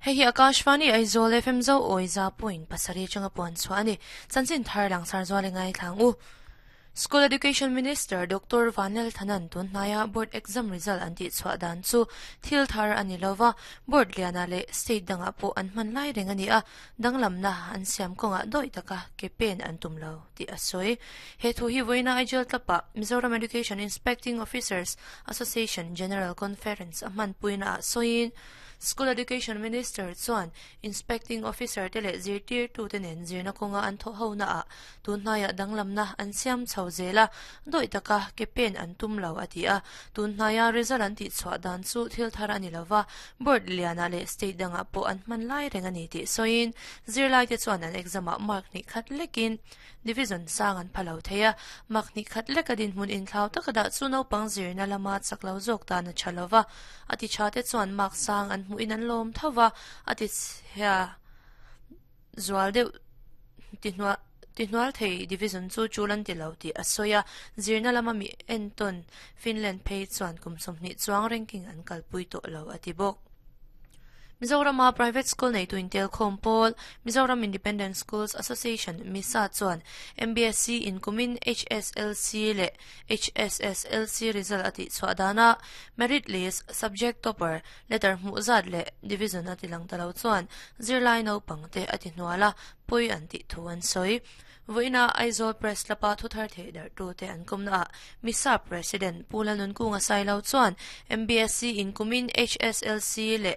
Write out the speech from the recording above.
Hei hi Akashvani Aizawl FM Zo awi za point pasarih atanga puan chhuah a ni. Chanchin thar langsar zual i ngaithlang u. School Education Minister Doctor Vanlal Thanan tun hnaia Board Exam result an tih chhuah dan chu thil thar a ni lova, Board lianah leh State dangah pawh an hman lai reng a ni a, danglamna an siam kawngah dawih taka ke pen an tum lo tih a sawi. He thu hi vawiina Aijal tlapa Mizoram Education Inspecting Officers Association General Conference a hmanpuina ah sawiin School Education Minister chuan Inspecting Officer te leh zirtirtute nen zirna kawnga an thawh hona ah tun hnaiah danglamna an siam chho zel a, dawih taka ke pen an tum lo a ti a. Tun hnaia result an tihchhuah dan chu thil thar a ni lova, board lianah leh state dangah pawh an hman lai reng a ni tih sawiin zirlaite chuan an exam ah mark hnih khat lekin division sang an pha lo thei a, mark hnih khat leka dinhmun inthlau taka dah chu naupang zirna lama chak lo zawk tan a tha lova, a ti tha te chuan mark sang an hmuhin an lawm tho va, a ti chhia zual deuh ti hnual ti hnual thei division chu chul an ti lo tih a sawi a, zirna lama mi entawn Finland phei chuan kum 20 chuang ranking an kalpui tawh lo a ti bawk. Mizorama private school neitu intelkhawm pawl, Mizoram Independent Schools Association, MISA, chuan MBSC in kumin HSLC leh HSSLC result a tihchhuah danah merit list, subject topper, letter hmuh zat leh division a tilang ta lo chuan zirlai naupangte a ti hnual a, pawi an tih thu an sawi. Vawiina Aizawl Press Club-a thuthar theih darhtute an kawmnaah MISA President Pu Lalnunkunga Sailo chuan MBSC in kumin HSLC leh.